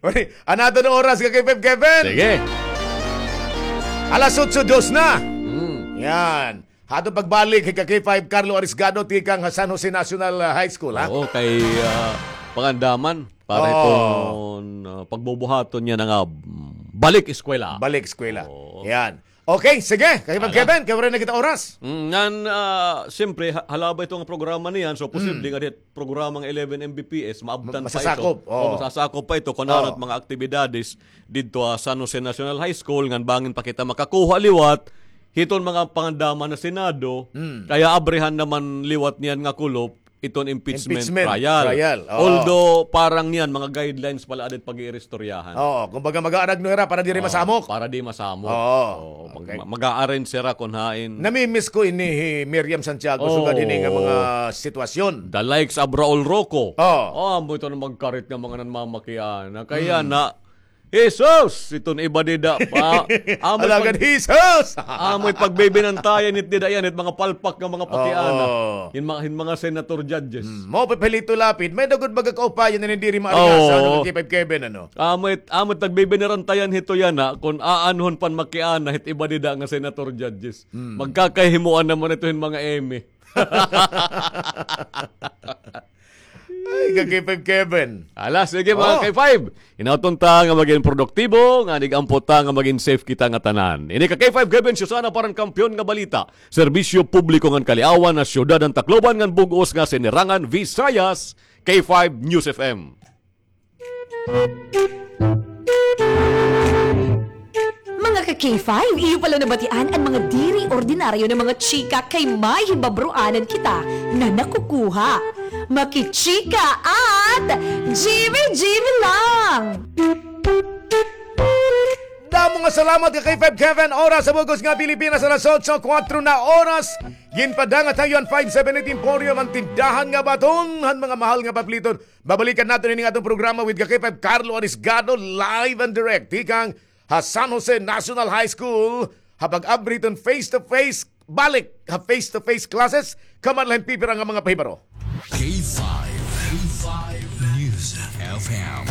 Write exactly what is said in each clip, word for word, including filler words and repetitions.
Uy, an aton oras, ka K five Kevin. Sige. Alas otso dos na. Mm. Yan. Aton pagbalik, ka K five Carlo Arisgado, tikang ha San Jose National, ah, High School, ha? Oo, kay, ah, pangandaman para Oo. iton, ah, pagbubuhaton niya nga, ah, balik eskwela. Balik eskwela. Oo. Yan. Okay, sige. Kay Ala. Kevin, kay waray na kita oras. Mm, ngan, ah, siyempre, ha-, halaba ito nga programa niyan, so posible Mm. nga dit programang eleven M B P S, maabtan Ma-, pa ito. masasakop, O, oo. masasakop pa ito kung Oo. ano it mga aktibidades didto ha San Jose National High School, ngan bangin pa kita makakuha liwat hiton mga pangandaman na Senado, Mm. kaya abrihan naman liwat niyan nga kulop iton impeachment Impeachment trial. trial, oo. Although, parang niyan, mga guidelines pala adit pag-iiristoryahan. Oo, kumbaga mag-aaragno hira para diri Oo, masamok. para di masamok. Oo. Oo, mag-, Okay. ma-, mag-a-arrange sira kun hain. Namimiss ko ini hi Miriam Santiago, Oo. sugad ini nga mga sitwasyon. The likes of Raul Roco. Oo. Oh, amo ito na magkarit nga mga nanmamakiana. Kaya Hmm. na, Jesus! Iton iba dida pa. Amoy Alagad pag-, Jesus! amoy pagbibinantayan it dida yan, it mga palpak nga mga pakiana. Oo. Hin mga, hin mga senator judges. Hmm. Mao pa hi Lito Lapid, may-ada gud baga kaupayan na diri maarigasa, Oo. ano, K five Kevin, ano? Amoy, amoy pagbibinirantayan hito yana, kun aanhon pan makiana, hit iba dida nga senator judges. Hmm. Magkakahimuan naman ito hin mga eme. Ay, ka K five Kevin. Ala, sige, mga Oh. K five. Hinaot unta nga magin produktibo, ngan ig-ampo ta nga magin safe kita nga tanan. Ini ka K five Kevin, siya sana para han Kampiyon nga Balita. Serbisyo publiko ngan kaliawan ha syudad han Tacloban ngan bug-os nga sinirangan Visayas, K five News F M. Mga ka K five, iyo pala nabatian an mga diri ordinaryo na mga chika kay may hibabroanan kita na nakukuha. Makichika at G V G V lang! Damo nga salamat ka K five Kevin. Oras sa bug-os nga Pilipinas, alas otso kuwatro na oras. Ginpadangat ha iyo an five seven eight Emporium, an tindahan nga baton han mga mahal nga papliton. Babalikan naton ini nga aton programa with ka K five Carlo Arisgado, live and direct tikang ha San Jose National High School, ha pag-abri hiton face-to-face, balik ha face-to-face classes, kaman la hin pipira nga mga pahibaro. K five, K five News F M,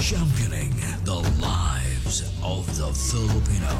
championing the lives of the Filipino.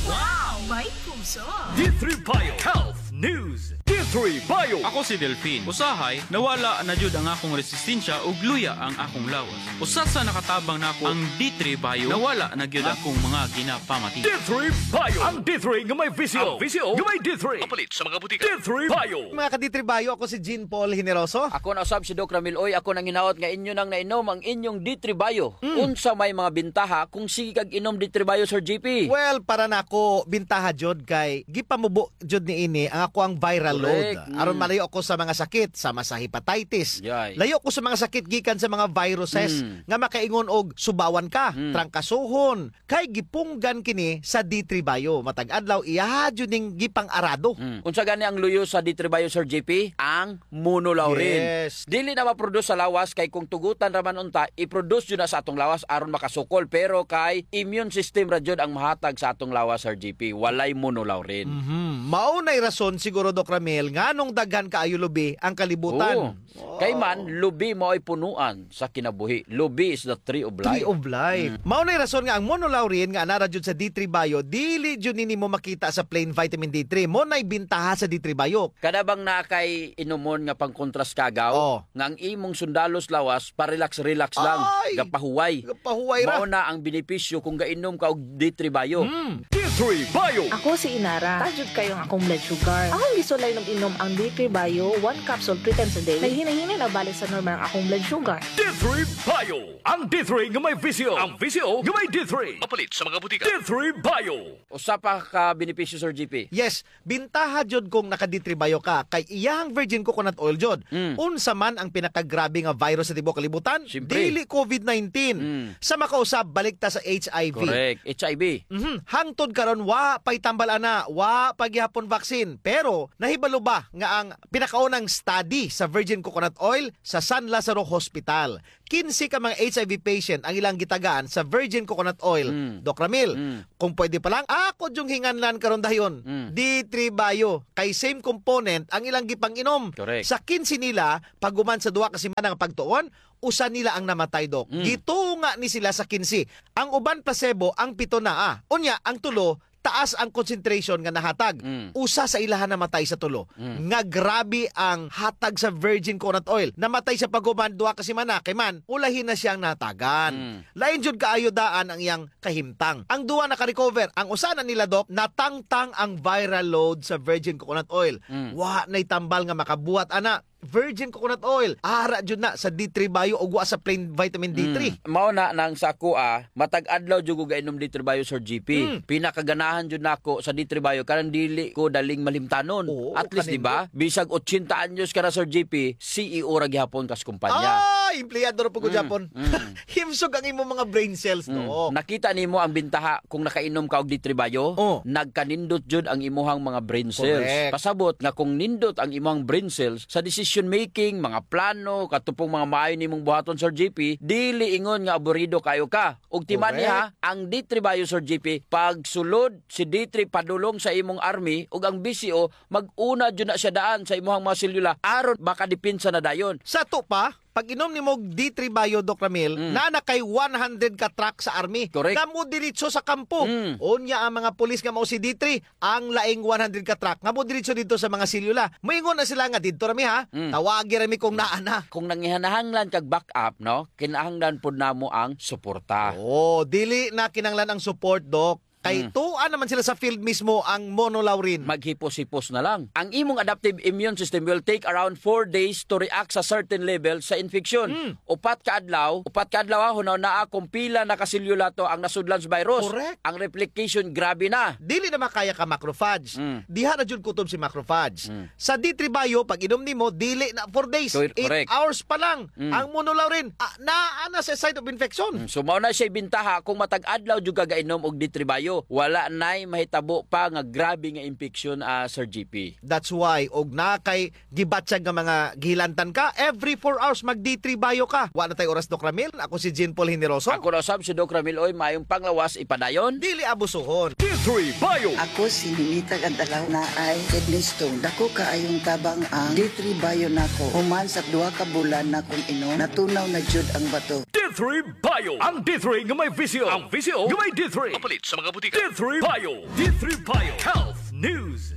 Wow! May puso! D three Bio Health News. D three Bio. Ako si Delfin. Usahay, nawala na jud ang akong resistensya ug luya ang akong lawas. Usa sa nakatabang nako ang D three Bio, nawala na gyud akong mga ginapamati. D three Bio, ang D three nga may visyo. Ang visyo nga may D three. Mapalit sa mga butika. D three Bio. Mga ka-D three Bio, ako si Jean Paul Generoso. Ako na usab si Doc Ramil Uy. Ako nang hinaot nga inyo nang nainom ang inyong D three Bio. Mm. Unsa may mga bintaha kung sige kag inom D three Bio, Sir G P? Well, para nako, bintaha jud kay gipamubo jud niini ang akoang viral load. Correct. Aron Mm. malayo ako sa mga sakit, sama sa hepatitis. Yay. Layo ko sa mga sakit gikan sa mga viruses Mm. nga makaingon og subawan ka, Mm. trangkasohon, kay gipunggan kini sa D three Bio. Matag adlaw, iya jud ning gipang-arado. Mm. Unsa gani ang luyo sa D three Bio, Sir G P? Ang monolaurin. Yes. Dili na ma-produce sa lawas kay kung tugutan ra man unta, i-produce jud na sa atong lawas aron makasukol. Pero kay immune system ra jud ang mahatag sa atong lawas, Sir G P. Walay monolaurin. Mhm. Mao nay rason siguro, Doc Ramil, nganong daghan kaayo lubi ang kalibutan. Oo. Kay man, lubi mao'y punuan sa kinabuhi. Lubi is the tree of life. Tree of life. Mm. Mao nay rason nga ang monolaurin nga anaa ra jud sa D three Bio, dili jud nini mo makita sa plain vitamin D three. Mao nay bintaha sa D three Bio. Kada bang naa kay inumon nga pangkontras kagaw, Oh. nga ang imong sundalos lawas, pa-relax-relax lang. Ay! Gapahuway. Gapahuway ra. Mao na ang benepisyo kung gainom ka og D three Bio. Hmm. D three Bio. Ako si Inara. Taas jud kaayo ang akong blood sugar. Akong gisulay inom-inom ang D three Bio, one capsule three times a day. Naghinay-hinay na balik sa normal ang akong blood sugar. D three Bio. Ang D three nga may visyo. Ang visyo nga may D three. Mapalit sa mga butika. D three Bio. Usa pa ka benepisyo, Sir G P. Yes, bintaha jud kung naka-D three Bio ka, kay iyahang virgin coconut oil jud. Mm. Unsa man ang pinakagrabe nga virus sa tibuok kalibutan? Siyempre. Dili covid nineteen. Mm. Sa makausab, balik ta sa H I V. Correct. H I V. Mhm. Hangtod karon, wa pa'y tambal ana, wa pa gihapon vaccine. Pero, nahibalo ba nga ang pinakaunang study sa virgin coconut oil sa San Lazaro Hospital? Kinse ka mga H I V patient ang ilang gitagaan sa virgin coconut oil. Mm. Doc Ramil, Mm. kung pwede pa lang, ako jung hinganlan karon dayon. Mm. D three Bio, kay same component ang ilang gipang-inom. Correct. Sa kinse nila, paghuman sa duha ka semana nga pagtuon, usa nila ang namatay, Doc. Mm. Gitunga ni sila sa kinse. Ang uban placebo, ang pito na, ah. Unya, ang tulo, taas ang concentration nga nahatag. Mm. Usa sa ilaha namatay sa tulo. Mm. Nga grabe ang hatag sa virgin coconut oil. Namatay siya paghuman duha ka semana, kay man, ulahi na siyang nahatagan. Mm. Lain jud kaayo daan ang iyang kahimtang. Ang duha naka-recover. Ang usa na nila, Doc, natangtang ang viral load sa virgin coconut oil. Mm. Wa na'y tambal nga makabuhat ana. Virgin coconut oil. Ara jud na sa D three Bio ug wa sa plain vitamin D three. Mm. Mao na nang sa ako, ah, matag adlaw jud ko gainom D three Bio, Sir G P. Mm. Pinakaganahan jud nako sa D three Bio, kanang dili ko daling malimtanon. Oo, at least, di ba? Kanindot. Bisag otsenta anyos ka na, Sir G P, C E O ra gihapon kas kumpanya. Ah, empleyado ra pud ko gihapon. Mm. Himsog ang imong mga brain cells, no? Nakita nimo ang bintaha kung nakainom ka og D three Bio? Oh. Nagkanindot jud ang imuhang mga brain cells. Correct. Pasabot nga kung nindot ang imuhang brain cells sa decision making, mga plano, katupong mga maayo nimong buhaton, Sir G P, dili ingon nga aburido kayo ka. Ug timan-i ha, correct, ang D three Bio, Sir G P, pagsulod si D three padulong sa imong army ug ang B C O mag-una jud na siya daan sa imuhang mga selula aron makadepensa na dayon. Sa ato pa, pag-inom nimo og D three Bio, Doc Ramil, mm, naa na kay one hundred ka truck sa army. Correct. Nga modiretso sa kampo. Mm. Unya ang mga pulis nga mao si D three, ang laing one hundred ka truck nga modiretso didto sa mga selula. Moingon na sila nga didto ra mi ha. Mm. Tawagi ra mi kung naa na. Kung nangihanahanglan kag backup, no? Kinahanglan pud namo ang suporta. Oo, dili na kinahanglan ang support, Doc. Kay, mm, tuan naman sila sa field mismo ang monolaurin. Maghipos-hipos na lang. Ang imong adaptive immune system will take around four days to react sa certain level sa infection. Mm. Upat ka adlaw, upat ka adlaw, ha, hunaw naa kung pila na ka selula to ang nasudlan sa virus. Correct. Ang replication, grabe na. Dili na makaya ka macrophage. Mm. Diha na jud kutob si macrophage. Mm. Sa D three Bio, pag inom nimo, dili na four days. Cor-, correct. Eight hours pa lang. Mm. Ang monolaurin, ah, naa na sa site of infection. Mm, so, mao na siya bintaha kung matag adlaw jud ka gainom og D three Bio. Wala nay mahitabo pa nga grabe nga impeksyon, ah, Sir G P. That's why, og na kay gibatyag nga mga gihilantan ka, every four hours mag D three Bio ka. Wa na tay oras, Doc Ramil. Ako si Jean Paul Generoso. Ako na usab si Doc Ramil. Oy, maayong panglawas, ipadayon. Dili abusuhon. D three Bio. Ako si Ninita Gantalaw, naay kidney stone. Dako kaayong tabang ang D three Bio nako. Human sa duha ka bulan nakong inom, natunaw na jud ang bato. D three Bio. Ang D three nga may visyo. Ang visyo nga may D three. Mapalit sa mga butika. D three Bio. D three Bio. Health News.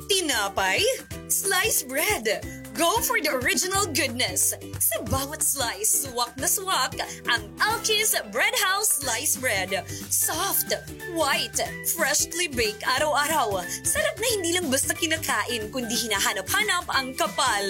Tinapay? Slice bread. Go for the original goodness. Sa bawat slice, suwak na suwak ang Alki's Bread House Slice Bread. Soft, white, freshly baked araw-araw. Sarap na hindi lang basta kinakain, kundi hinahanap-hanap ang kapal.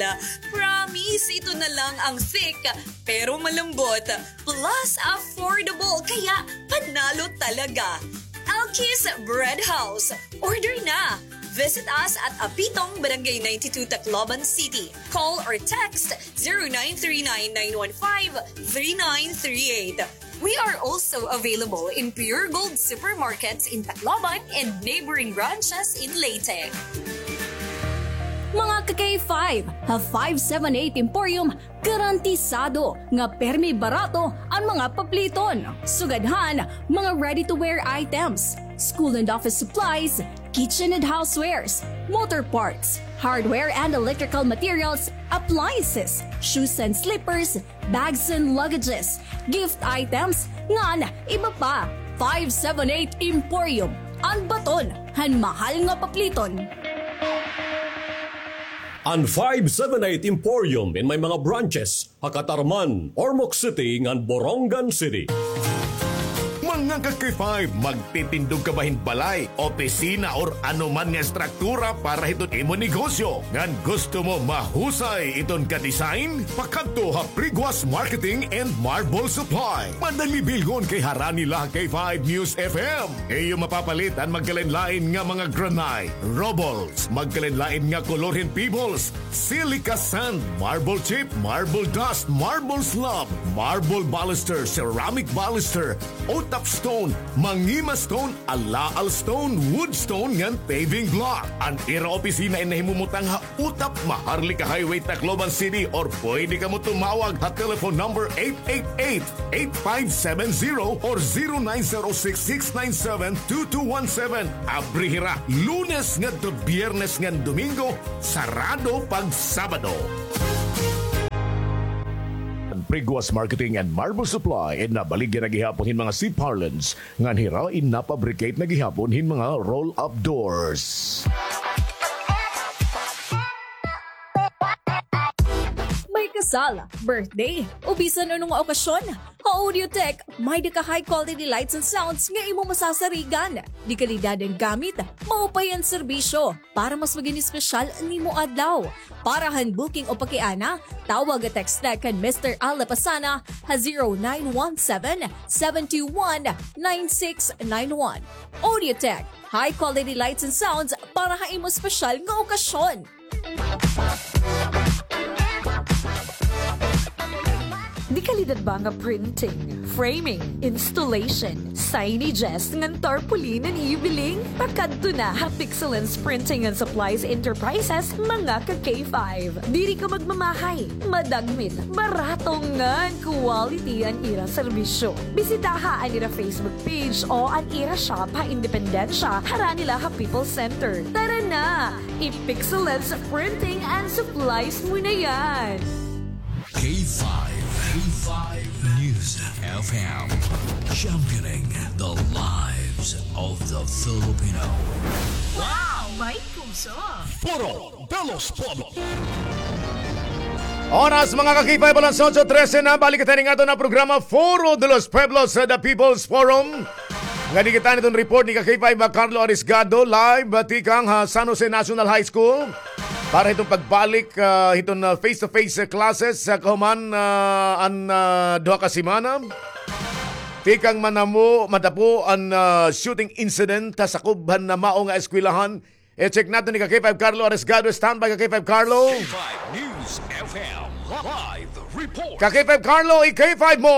Promise, ito na lang ang thick, pero malambot. Plus, affordable, kaya panalo talaga. Alki's Bread House. Order na! Visit us at Apitong, Barangay ninety-two, Tacloban City. Call or text zero nine three nine nine one five three nine three eight. We are also available in Pure Gold supermarkets in Tacloban and neighboring branches in Leyte. Mga ka-K five, ha five seven eight Emporium, garantisado nga permi barato an mga papliton. Sugad han mga ready-to-wear items, school and office supplies, kitchen and housewares, motor parts, hardware and electrical materials, appliances, shoes and slippers, bags and luggages, gift items, ngan iba pa. Five seven eight Emporium, an baton han mahal nga papliton. An five seven eight Emporium in may mga branches ha Catarman, Ormoc City, ngan Borongan City. Mga ka-K five, magtitindog ka ba hin balay, opisina, or ano man nga estruktura para hiton imo negosyo? Ngan gusto mo mahusay iton ka-design? Pakadto ha Priguas Marketing and Marble Supply. Madali bilhon kay harani la ha K five News F M. Iyo mapapalit an magkalain-lain nga mga granite, rubbles, magkalain-lain nga kolor hin pebbles, silica sand, marble chip, marble dust, marble slab, marble baluster, ceramic baluster, utap stone, mangima stone, alaal stone, wood stone, ngan paving block. An ira opisina in nahimumutang ha Utap, Maharlika Highway, Tacloban City, or pwede kamo tumawag ha telephone number eight eight eight, eight five seven zero or zero nine zero six, six nine seven, two two one seven. Abri hira Lunes ngadto Biyernes ngan Domingo, sarado pag Sabado. Priguas Marketing and Marble Supply, in nabaligya na gihapon hin mga C-parlance, ngan hira in napabricate na gihapon hin mga roll-up doors. May kasal, birthday, o bisan ano nga okasyon, ha Audiotech, may-ada ka high quality lights and sounds nga imo masasarigan. Dekalidad an gamit, maupay an serbisyo, para mas magin espesyal an imo adlaw. Para han booking o pakiana, tawag o text na kan Mister Al Lapasana ha zero nine one seven, seven two one, nine six nine one. Audiotech, high quality lights and sounds para ha imo espesyal nga okasyon. Dekalidad ba nga printing, framing, installation, signages, ngan tarpaulin an iyo biling? Pakadto na ha Pixelens Printing and Supplies Enterprises, mga ka-K five. Diri ka magmamahay, madagmit, barato ngan quality an ira serbisyo. Bisitaha an ira Facebook page o an ira shop ha Independencia, harani la ha People's Center. Tara na! I-Pixelens Printing and Supplies mo na yan! K five, K five News F M, championing the lives of the Filipino. Wow! May puso! Foro de los Pueblos. Oras, mga ka-K five, alas otso trese na. Balik kita ning aton nga programa, Foro de los Pueblos, sa The People's Forum. Nga di kita niton report ni ka-K five, ah, Carlo Arisgado, live, ah, tikang ha San Jose National High School. Para hiton pagbalik, ah, hiton, ah, face-to-face, ah, classes, ah, kahuman, ah, an, ah, duha ka semana. Tikang manamo, matapo an, ah, shooting incident ha sakob han mao nga eskwelahan. I-check naton ni ka-K five Carlo Arisgado. Standby, ka-K five Carlo. K five News F M live report. Ka-K five Carlo, i-K five mo.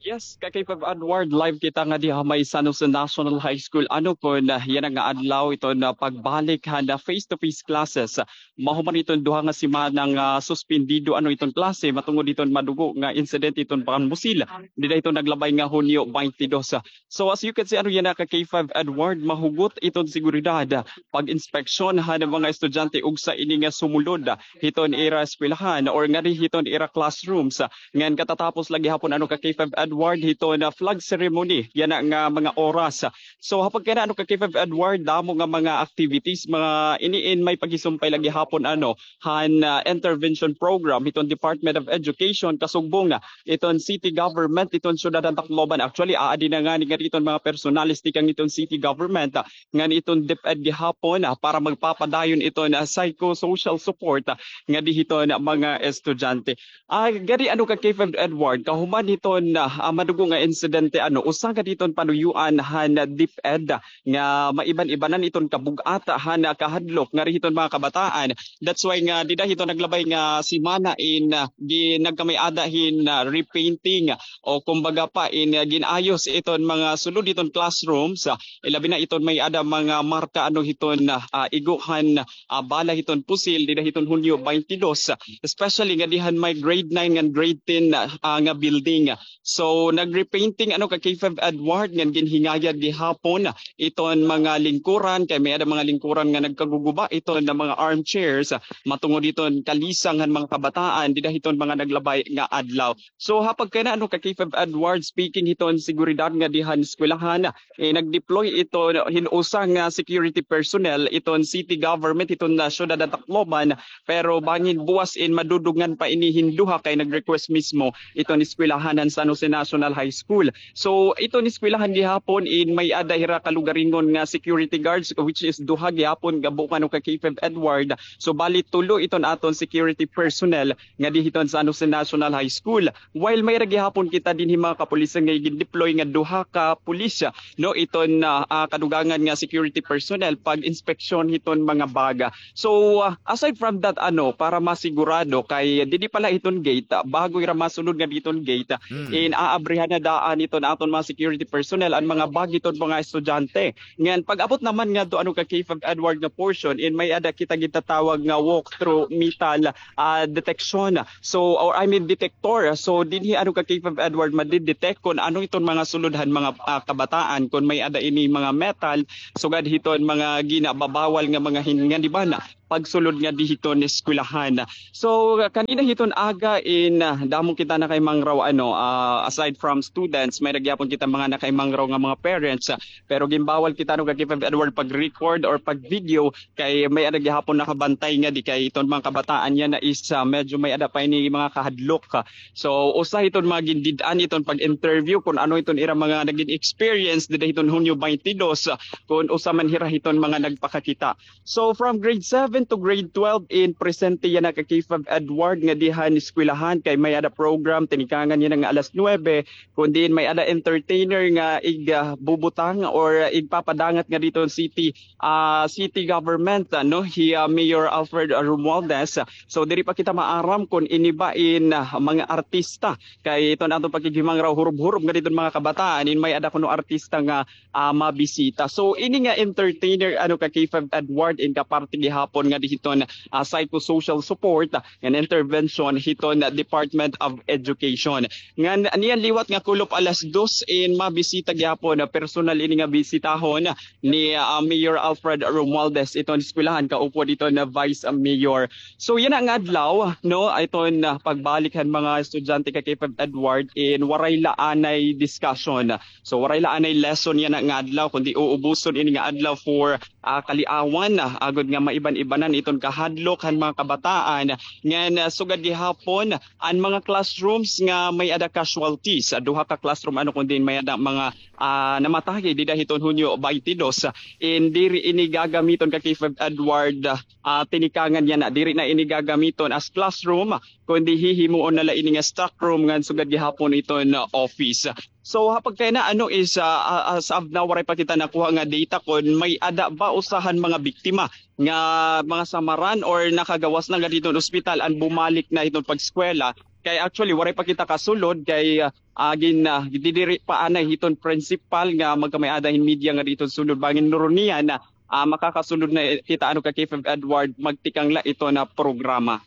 Yes, ka-K five Edward, live kita ngadi ha may San Jose National High School. Ano kon, ah, yana nga adlaw iton pagbalik han face-to-face classes. Mahuman iton duha nga semana nga suspendido ano iton klase, matungod iton madugo nga incident iton pangmusil dida hiton naglabay nga Hunyo twenty-two. So as you can see, ano yana ka-K five Edward, mahugot iton seguridad, pag-inspeksyon han mga estudyante ugsa ini nga sumulod hiton ira eskwelahan or ngadi hiton ira classrooms. Ngan katatapos la gihapon ano ka-K five Edward hiton flag ceremony yana nga mga oras. So ha pagkayana ano ka-K five Edward, damo nga mga activities, mga ini in may paghisumpay la gihapon ano han, ah, intervention program hiton Department of Education, kasugbong, ah, iton city government hiton syudad han Tacloban. Actually, aadi na ngani ngadi iton mga personalis tikang iton city government, ah, ngan iton DepEd gihapon, ah, para magpapadayon iton, ah, psychosocial support, ah, ngadi hiton mga estudyante. Ah, ngadi ano ka-K five Edward, kahuman hiton, ah, madugo nga insidente ano, usa ngadi hiton panuyoan han DepEd, ah, nga maiban-ibanan iton kabug-at han kahadlok ngadi hiton mga kabataan. That's why nga dida hiton naglabay nga semana in, ah, gi-, nagkamay-ada hin, ah, repainting o kumbaga pa in, ah, gin-ayos iton mga sulod hiton classrooms, ah, ilabi na iton may-ada mga marka ano hiton, ah, igo han, ah, bala hiton pusil dida hiton Hunyo twenty-two, especially ngadi han may grade nine ngan grade ten, ah, nga building. So, nag-repainting ano ka-K five Edward ngan ginhingayad gihapon iton mga lingkuran, kay may-ada mga lingkuran nga nagkaguguba iton nga mga armchairs, matungod hiton kalisang han mga kabataan dida hiton mga naglabay nga adlaw. So, ha pagkayana ano ka-K five Edward, speaking hiton seguridad ngadi han eskwelahan, eh, nag-deploy iton hin usa nga security personnel iton city government hiton, ah, syudad han Tacloban, pero bangin buwas in madudugngan pa ini hin duha kay nag-request mismo iton eskwelahan han San Jose National High School. So, iton eskwelahan gihapon in may-ada hira kalugaringon nga security guards, which is duha gihapon nga bukan ano ka-K five Edward. So, bali tulo iton aton security personnel ngadi hiton San Jose National High School. While may-ada gihapon kita dinhi mga kapulisan nga gin-deploy nga duha ka pulis, no, iton, ah, ah, kadugangan nga security personnel pag-inspeksyon hiton mga bag. So, ah, aside from that, ano, para masigurado kay didi pa la hiton gate, ah, bago ira masulod ngadi hiton gate, ah, in aabrihan na daan hiton aton mga security personnel an mga bag hiton mga estudyante. Ngan pag-abot naman ngadto ano ka-K five Edward nga portion, in may-ada kita gintatawag nga walk through metal, ah, detection. So, or I mean, detector. So, dinhi ano ka-K five Edward, madidetect kon ano iton mga sulod han mga, ah, kabataan, kon may-ada ini mga metal, sugad hiton mga ginababawal nga mga hin-, nga di ba na, pagsulod nga di hiton eskwelahan. So, kanina hiton aga in, ah, damo kita nakaimangraw, ano, ah, aside from students, may-ada gihapon kita mga nakaimangraw nga mga parents, ah, pero ginbawal kita, no, ka K five Edward pag-record or pag-video kay may-ada gihapon nakabantay nga di kay iton mga kabataan yana is, ah, medyo may-ada pa ini mga kahadlok. So, usa hiton mga gindid-an iton pag-interview kun ano iton ira mga nagin experience dida hiton Hunyo twenty-two, ah, kun usa man hira hiton mga nagpakakita. So, from grade seven to grade twelve in presente yana ka K five Edward nga dihan eskwelahan kay may-ada program tinikangan yana nga alas nuebe, kun diin may-ada entertainer nga ig, ah, bubutang or igpapadangat nga didto city, ah, city government, ano, hi, ah, Mayor Alfred Romualdez. So, diri pa kita maaram kun ini ba in, ah, mga artista kay iton aton pakighimangraw hurob-hurob nga didto mga kabataan in may-ada kuno artista nga ah, mabisita. So, ini nga entertainer, ano, ka K five Edward, in kaparte gihapon nga di hiton, ah, psychosocial support, ah, and intervention hiton Department of Education. Ngan, niyan liwat nga kulop alas dos, in mabisita gihapon, ah, personal ini nga bisitahon ni, ah, Mayor Alfred Romualdez iton eskwelahan, kaupod iton Vice Mayor. So, yana nga adlaw, no, iton, ah, pagbalik han mga estudyante ka K five Edward, in waray la anay discussion. So, waray la anay lesson yana nga adlaw, kundi uubuson ini nga adlaw for, ah, kaliawan, ah, agod nga maiban-ibanan iton kahadlok han mga kabataan. Ngan, ah, sugad gihapon, an mga classrooms nga may-ada casualties, ah, duha ka classroom, ano, kundi may-ada mga, ah, namatay dida hiton Hunyo twenty-two. In diri ini gagamiton ka K five Edward, ah, tinikangan yana, diri na ini gagamiton as classroom, kundi hihimuon na la ini nga stock room ngan sugad gihapon iton, ah, office. So, ha pagkayana, ano, is, ah, ah, as of now, waray pa kita nakuha nga data kun may-ada ba usa han mga biktima nga mga samaran or nakagawas na nga didto ospital an bumalik na hiton pag-eskwela. Kay actually, waray pa kita kasulod kay, ah, gin-, ah, didiri pa anay hiton principal nga magkamay-ada hin media nga didto sulod. Bangin nuron niyan, ah, makakasulod na kita, ano, ka K five Edward, magtikang la iton programa.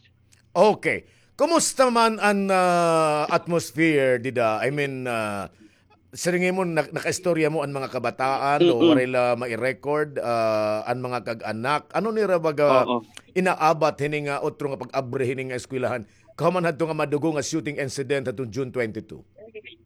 Okay. Kumusta man an, ah, atmosphere dida? I mean, ah, siring mo, nak-, nakaistorya mo an mga kabataan, no? Mm-mm. Waray la mai-record, ah, an mga kag-anak. Ano nira baga Oo. inaabat hini nga otro nga pag-abri hini nga eskwelahan? Kahuman hadto nga madugo nga shooting incident hadtong June twenty-two.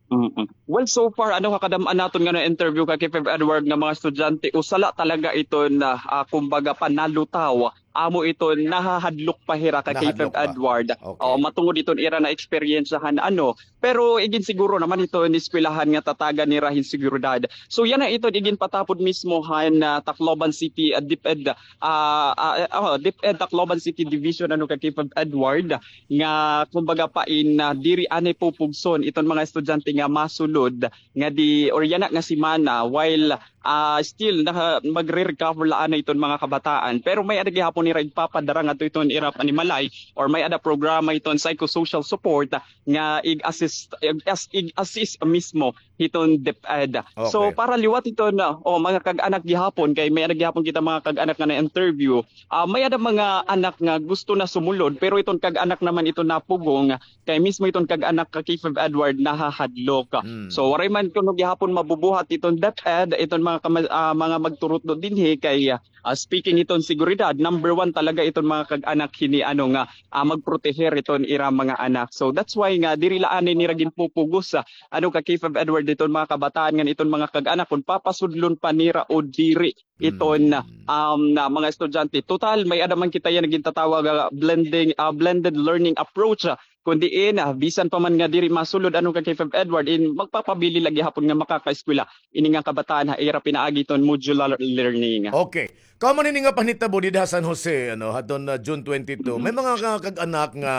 Mm-mm. Well, so far, ano, ha kadam-an naton nga na-interview ka K five Edward nga mga estudyante, usa la talaga iton, ah, kumbaga, panalutaw. Amo iton nahahadlok pa hira ka K five Edward. Okay. Oo, matungod iton ira na-eksperyensyahan, ano. Pero iginsiguro naman iton eskwelahan nga tatagan nira hin seguridad. So, yana iton iginpatapod mismo han, ah, Tacloban City, ah, DepEd, ah, ah, oh, DepEd Tacloban City Division, ano, ka K five Edward, nga kumbaga pa in, ah, diri anay pupugson iton mga estudyante nga masulod nga di, or yana nga semana, while, ah, still naka-, magre-recover la anay iton mga kabataan. Pero may-ada gihapon nira igpapadara ngadto iton ira panimalay, or may-ada programa iton psychosocial support nga ig-assist, ig-as-, ig-assist mismo hiton DepEd. So, okay, para liwat iton, ah, o, mga kag-anak gihapon, kay may-ada gihapon kita mga kag-anak nga na-interview, ah, may-ada mga anak nga gusto na sumulod, pero iton kag-anak naman iton napugong, kay mismo iton kag-anak ka K five Edward nahahadlok. Mm. So, waray man kuno gihapon mabubuhat iton DepEd, iton mga kama-, ah, mga magturutdo dinhi kay, ah, speaking iton seguridad, number one talaga iton mga kag-anak hini, ano, nga, ah, magproteher iton ira mga anak. So, that's why nga diri la anay nira ginpupugos, ah, ano, ka K five Edward, iton mga kabataan ngan iton mga kag-anak kun papasudlon pa nira o diri iton, mm, um, na mga estudyante. Total, may-ada man kita yana gintatawag, ah, blending, ah, blended learning approach, ah, kun diin, ah, bisan pa man nga diri masulod, ano, ka K five Edward, in magpapabilin la gihapon nga makakaeskwela ini nga kabataan ha ira pinaagi iton modular learning. Okay. Kahuman hini nga panhitabo dida ha San Jose, ano, hadton, ah, June twenty-two, may mga ka-, kag-anak nga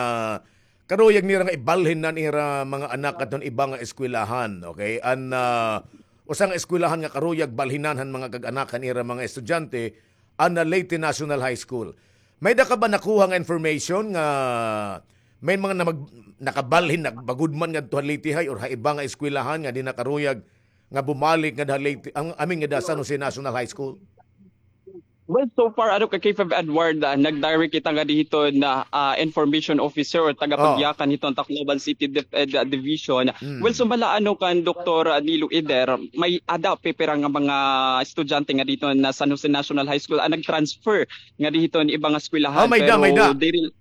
karuyag nira nga ibalhin an ira mga anak hadton iba nga eskwelahan, okay? An, ah, usa nga eskwelahan nga karuyag balhinan han mga kag-anak han ira mga estudyante, an, ah, Leyte National High School. May-ada ka ba nakuha nga information nga may mga namag-, nakabalhin, nagbagod man ngadto ha Leyte High or ha iba nga eskwelahan nga di na karuyag nga bumalik ngadto ha Leyte, ang, I mean, ngadto ha San Jose National High School? Well, so far, ano, ka K five Edward, ah, nag-direct kita ngadi hiton, ah, ah, information officer or tagapagyakan hiton Tacloban City Dep-, eh, da-, Division. Well, sumala, ano, kan Doktor Nilo Eder, may-ada pipira nga mga estudyante ngadi hiton San Jose National High School an nag-transfer ngadi hiton iba nga eskwelahan. Pero diri,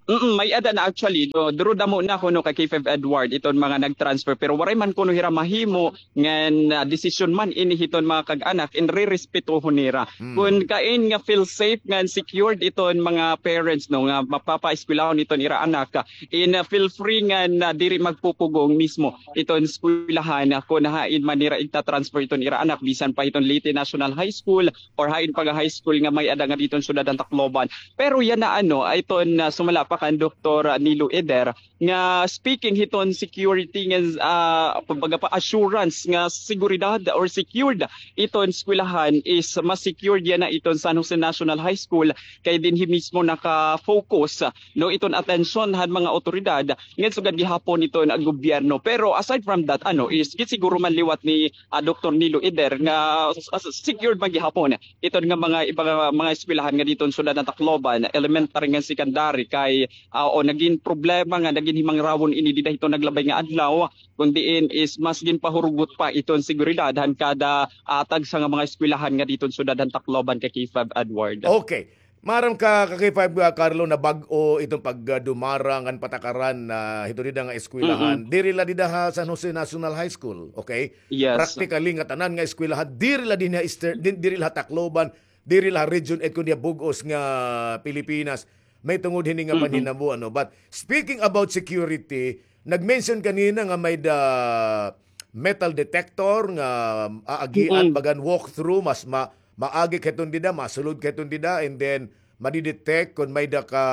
Mm, may-ada na actually. Do, duro damo na kuno ka K five Edward iton mga nag-transfer, pero waray man kuno hira mahimo ngan, ah, desisyon man ini hiton mga kag-anak, in rerespetohon nira. Kun kain nga feel safe ngan secured iton mga parents, no, nga mapapaeskwelahon iton ira anak, ah, in, ah, feel free ngan, ah, diri magpupugong mismo iton eskwelahan, ah, kun hain man nira igta-transfer iton ira anak, bisan pa hiton Leyte National High School or hain pa nga high school nga may-ada ngadi hiton syudad han Tacloban. Pero yana, ano, ay iton, ah, sumala pa kan Doktor Nilo Eder nga speaking hiton security nga, ah, kumbaga pa assurance nga seguridad or secured iton eskwelahan is mas secured yana iton San Jose National High School kay dinhi mismo naka-focus, no, iton atensyon han mga awtoridad ngan sugad gihapon iton gobyerno. Pero aside from that, ano, is gisiguro man liwat ni, ah, Doktor Nilo Eder nga s-, s-, secured man gihapon iton nga mga iba nga mga eskwelahan ngadi hiton syudad han Tacloban, elementary ngan secondary, kay, ah, o nagin problema nga nagin himangrawon ini dida hiton naglabay nga adlaw, kun diin is mas ginpahurugot pa iton seguridad han kada, ah, tagsa nga mga eskwelahan ngadi hiton syudad han Tacloban ka K five Edward. Okay. Maaram ka, ka K five, ah, Carlo, na bag-o iton pagdumara ngan patakaran, ah, hiton dida nga eskwelahan. Diri la dida ha San Jose National High School, okay? Yes. Practically ngatanan nga eskwelahan, diri la dinhi ha Eastern, di-, diri la ha Tacloban, diri la ha Region eight, kundi ha bug-os nga Pilipinas. May tungod hini nga panhinabo, ano. But speaking about security, nag-mention kanina nga may-ada metal detector nga aagian, bagan walkthrough, mas ma-, maagi hiton dida, masulod hiton dida, and then madi-detect kon may-ada ka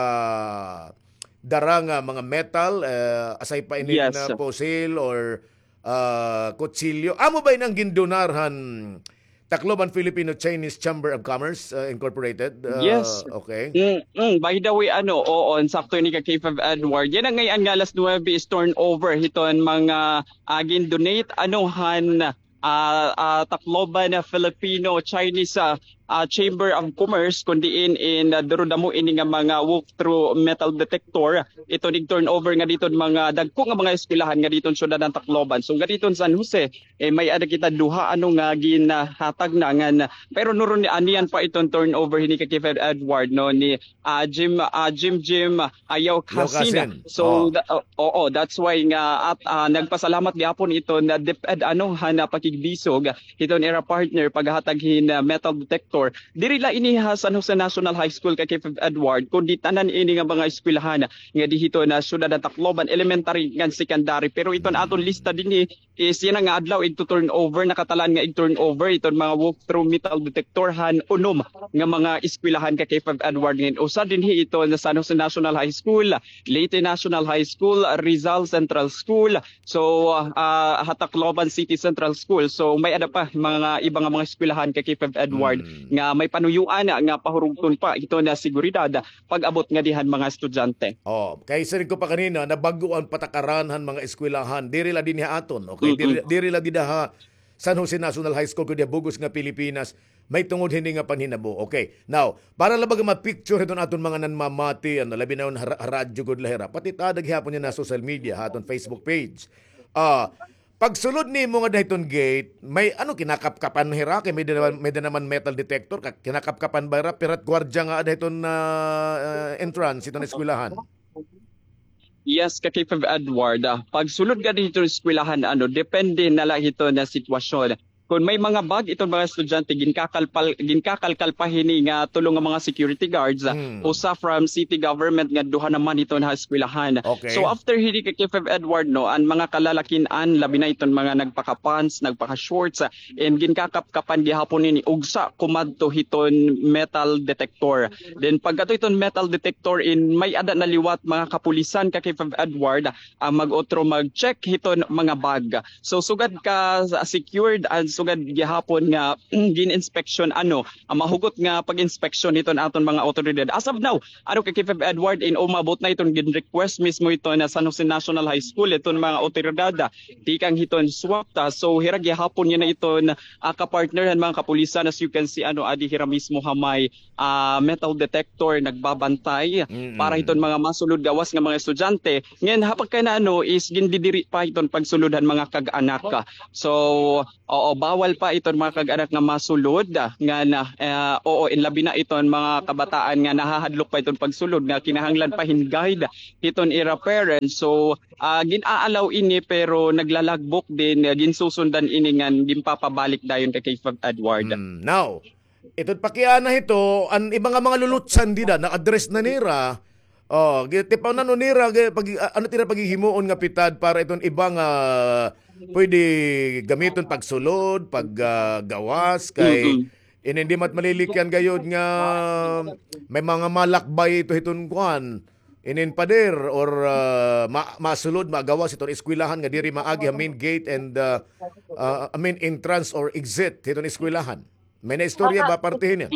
dara nga mga metal, eh, aside pa ini na pusil or, ah, kutsilyo. Amo ba ini an gindonar han Tacloban Filipino Chinese Chamber of Commerce, uh, Incorporated? Uh, yes. Okay. Mm, mm. By the way, ano, oo, sakto ini ka K five Edward. Yana ngay-an nga alas nuwebe is turnover hiton mga, ah, gin-donate, ano, han, ah, ah, Tacloban na Filipino Chinese, ah, ah, Chamber of Commerce, kun diin in, ah, duro damo ini nga mga walk-through metal detector. Iton ig-turnover ngadi hiton mga dagko nga mga eskwelahan ngadi hiton syudad han Tacloban. So, ngadi hiton San Jose, eh, may-ada kita duha, ano, nga ginhatag na ngan, pero nuron ni aniyan pa iton turnover hini ka K five Edward, no, ni, ah, Jim, ah, Jim, Jim, ah, Yao Casin. So, oo, that's why nga at, ah, nagpasalamat gihapon iton DepEd, ano, han pakigbisog hiton ira partner paghatag hin, ah, metal detector. Diri la ini ha San Jose National High School ka K five Edward, kundi tanan ini nga mga eskwelahan ngadi hiton syudad han Tacloban, elementary ngan secondary. Pero iton aton lista dinhi is yana nga adlaw igtu-turnover, nakatalaan nga ig-turnover iton mga walk-through metal detector han unom nga mga eskwelahan ka K five Edward, ngan usa dinhi iton San Jose National High School, Leyte National High School, Rizal Central School, so, ah, ha Tacloban City Central School. So, may-ada pa mga iba nga mga eskwelahan ka K five Edward nga may panuyuan nga pahurugton pa iton seguridad pag-abot ngadi han mga estudyante. Oh, kay siring ko pa kanina, nabag-o an patakaran han mga eskwelahan. Diri la dinhi ha aton, okay? Diri, diri la dida ha San Jose National High School, kundi ha bug-os nga Pilipinas, may tungod hini nga panhinabo. Okay. Now, para la baga ma-picture hiton aton mga nanmamati, ano, labi na ha ra-, ha radyo gud la hira. Pati it ada gihapon yana ha social media, ha aton Facebook page. Ah, pagsulod nimo ngada hiton gate, may, ano, kinakapkapan hira kay may-ada naman, may-ada naman metal detector, ka-, kinakapkapan ba hira, pira it gwardiya nga ada hiton, ah, ah, entrance hiton eskwelahan? Yes, ka K five Edward, ah, pagsulod ngadi hiton eskwelahan, ano, depende na la hiton sitwasyon. Kon may mga bag iton mga estudyante, ginkakalpal-, ginkakalkal pa hini nga tulo nga mga security guards, ah, usa from city government nga duha naman hiton ha eskwelahan. Okay. So after hini ka K five Edward, no, an mga kalalakin-an, labi na iton mga nagpaka-pants, nagpaka-shorts, ah, and ginkakapkapan gihapon ini, ugsa kumadto hiton metal detector. Then pagkadto hiton metal detector, in may-ada na liwat mga kapulisan ka K five Edward, ah, mag-utro mag-check hiton mga bag. So sugad ka secured and sugad gihapon nga gin-inspeksyon, ano, ah, mahugot nga pag-inspeksyon hiton aton mga awtoridad. As of now, ano, ka K five Edward, in umabot na iton gin-request mismo hiton San Jose National High School, iton mga awtoridad, ah, tikang hiton SWACT, ah. So, hira gihapon yana iton, ah, kapartner han mga kapulisan, as you can see, ano, adi hira mismo ha may, ah, metal detector, nagbabantay para hiton mga masulod gawas nga mga estudyante. Ngan, ha pagkayana, ano, is gindidiri pa hiton pagsulod han mga kag-anak. So, oo, bawal pa iton mga kag-anak nga masulod, ah, nga na, ah, oo, in labi na iton mga kabataan nga nahahadlok pa iton pagsulod nga kinahanglan pa hin guide hiton ira parents. So, ah, gin-aalaw ini pero naglalagbok din, ah, ginsusundan ini ngan ginpapabalik dayon ka K five Edward. Hmm, now, iton pakiana hito, an iba nga mga lulutsan dida, na-address na nira. Oh, gi-, tipaw na no nira, gi-, pag-, a-, ano tira paghihimuon nga pitad para iton iba nga pwede gamiton pagsulod, pag, ah, gawas, kay inin di mat malilikyan gayod nga may mga malakbay ito hiton kuan. Inin pader or, ah, ma-, masulod, magawas iton eskwelahan nga diri maagi ha main gate and, ah, ah, I mean, entrance or exit hiton eskwelahan. May naistorya ba parte hini?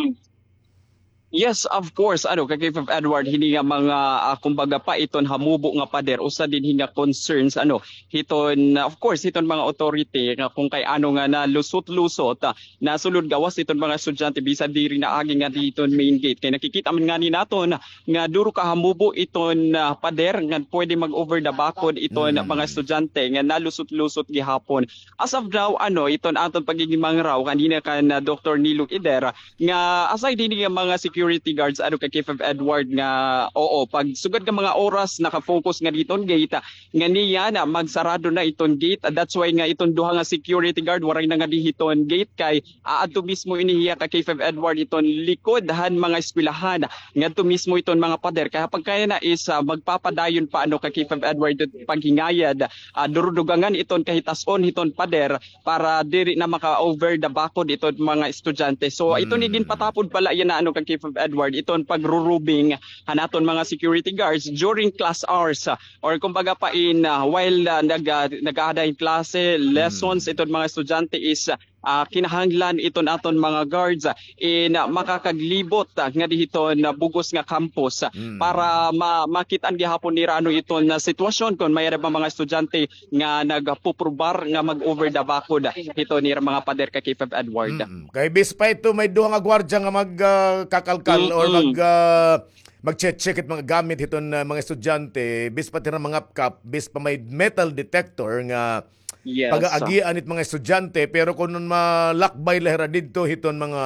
Yes, of course. Ano, ka K five Edward, hini nga mga, ah, kumbaga pa iton hamubo nga pader, usa dinhi nga concerns, ano, hiton, of course, hiton mga authority nga kung kay ano nga nalusot-lusot, ah, nasulod gawas iton mga estudyante, bisan diri na agi nga diton main gate. Kay nakikita man ngani naton nga duro ka hamubo iton, ah, pader nga pwede mag-over the bakod iton mga estudyante nga nalusot-lusot gihapon. As of now, ano, iton aton pagiging mangaraw kanina kan, ah, Doktor Nilo Idera, nga aside hini nga mga security guards, ano, ka K five Edward, nga, oo, pag sugad nga mga oras, naka-focus nga diton gate, ah, nga niya na magsarado na iton gate. That's why nga iton duha nga security guard, waray na nga dihiton gate, kay aadto mismo ini hiya ka K five Edward iton likod han mga eskwelahan, ngadto mismo iton mga pader. Kay ha pagkayana is, ah, magpapadayon pa, ano, ka K five Edward, iton paghingayad, ah, durudugangan iton kahitas-on hiton pader para diri na maka-over the bakod iton mga estudyante. So, ito ni ginpatapod pala yana, ano, ka K five Edward, iton pagrurubing han aton mga security guards during class hours, ah, or kumbaga pa in, ah, while, ah, nag, ah, nag-aada hin klase, lessons, iton mga estudyante is, ah, kinahanglan iton aton mga guards, ah, in, ah, makakaglibot, ah, nga dihiton, ah, bug-os nga campus, ah, para ma-, makit-an gihapon nira ano iton, ah, sitwasyon kon may-ada ba mga estudyante nga nagpuprobar nga mag-over the bakod, ah, hiton ira mga pader ka K five Edward. Mm-mm. Kay bis pa ito may duha nga gwardiya nga mag, ah, kakalkal or mag, ah, mag-check-check it mga gamit hiton, ah, mga estudyante, bis pa tira mangapkap, bis pa may metal detector nga pag-aagian it mga estudyante, pero kon malakbay la hira didto hiton mga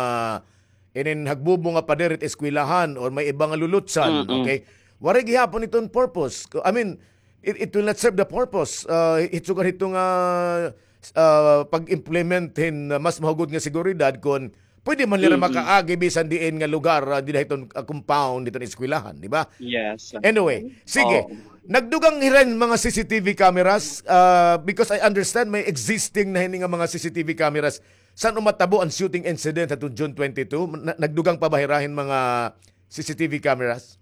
inin hagbubo nga pader it eskwelahan or may iba nga lulutsan, okay? Waray gihapon iton purpose. I mean, it, it will not serve the purpose. Ah, hit sugad hito nga, ah, pag-implement hin, ah, mas mahugod nga seguridad kon pwede man nira makaagi bisan diin nga lugar, ah, dida hiton, ah, compound hiton eskwelahan, di ba? Yes. Anyway, sige. Nagdugang hira hin mga C C T V cameras, ah, because I understand may existing na hini nga mga C C T V cameras. San-o matabo an shooting incident hadtong June twenty-two? Na-, nagdugang pa ba hira hin mga C C T V cameras?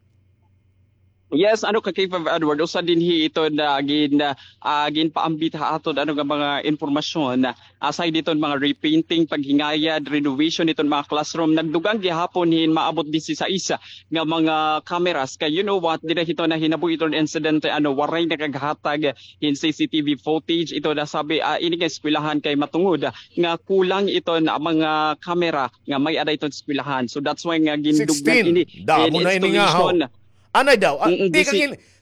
Yes, ano, ka K five Edward, usa dinhi iton, ah, gin-, ah, ginpaambit ha aton, ano, nga mga impormasyon. Aside diton mga repainting, paghingayad, renovation diton mga classroom, nagdugang gihapon hin maabot disisais nga mga cameras. Kay you know what, dida hiton nahinabo iton insidente, ano, waray nakaghatag hin C C T V footage. Ito nasabi, ah, ini nga eskwelahan kay matungod, ah, nga kulang iton, ah, mga kamera nga may-ada iton eskwelahan. So that's why nga gindugdan ini. Damo na ini nga, haw. Anay daw, ah,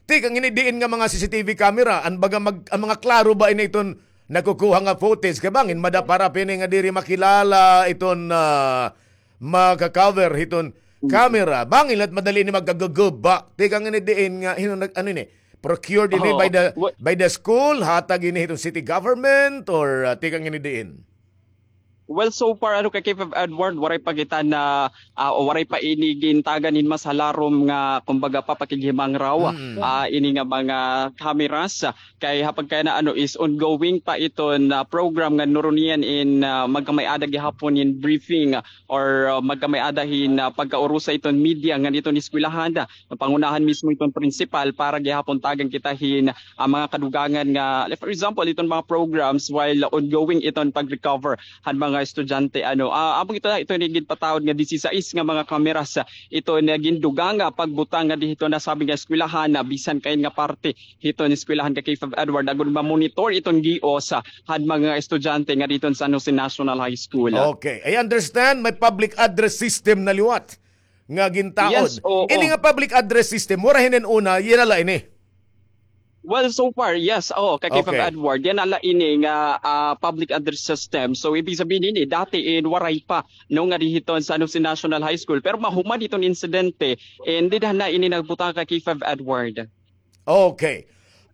tikang ini diin nga mga C C T V camera, an baga mag-, an mga klaro ba ini iton nakukuha nga footage? Kay bangin madapara pa ini nga diri makilala iton, ah, maka-cover hiton camera. Bangin la it madali ini magkaguguba. Tikang ini diin nga, hin-o nag-, ano ini? Procured ini by the, by the school, hatag ini hiton city government, or, ah, tikang ini diin? Well, so far, ano, kay K five Edward, waray pa kita na, ah, o waray pa ini gintagan hin mas halarom nga, kumbaga, papakighimangraw, ah, ini nga mga cameras. Kay ha pagkayana, ano, is ongoing pa iton, ah, program nga nurunian in, ah, magkamay-ada gihapon hin briefing or, ah, magkamay-ada hin, ah, pagkaurusa iton media ngan iton eskwelahan, ah, pangunahan mismo iton principal para gihapon tagan kita hin, ah, mga kadugangan nga, like, for example, iton mga programs while ongoing iton pag-recover han mga estudyante, ano. Ah, amo ito, ito ni ginpataod nga disisais nga mga kameras, ah, ito na gindugang nga pagbutang nga dihito na sabi nga eskwelahan na bisan kain nga parte hiton eskwelahan ka K five Edward, agud ma-monitor iton gios, ah, han mga estudyante nga didto sa San Jose National High School. Okay. I understand may public address system na liwat nga gintaod. Yes, oo. Ini nga public address system, mura hinin una, yana la ini. Well, so far, yes. Oo, kay K five Edward, yana la ini nga, ah, public address system. So, ibig sabihin ini, dati in waray pa, no, nga didto sa San Jose National High School. Pero mahuman iton insidente, and dida na ini nagbutang kay K five Edward. Okay.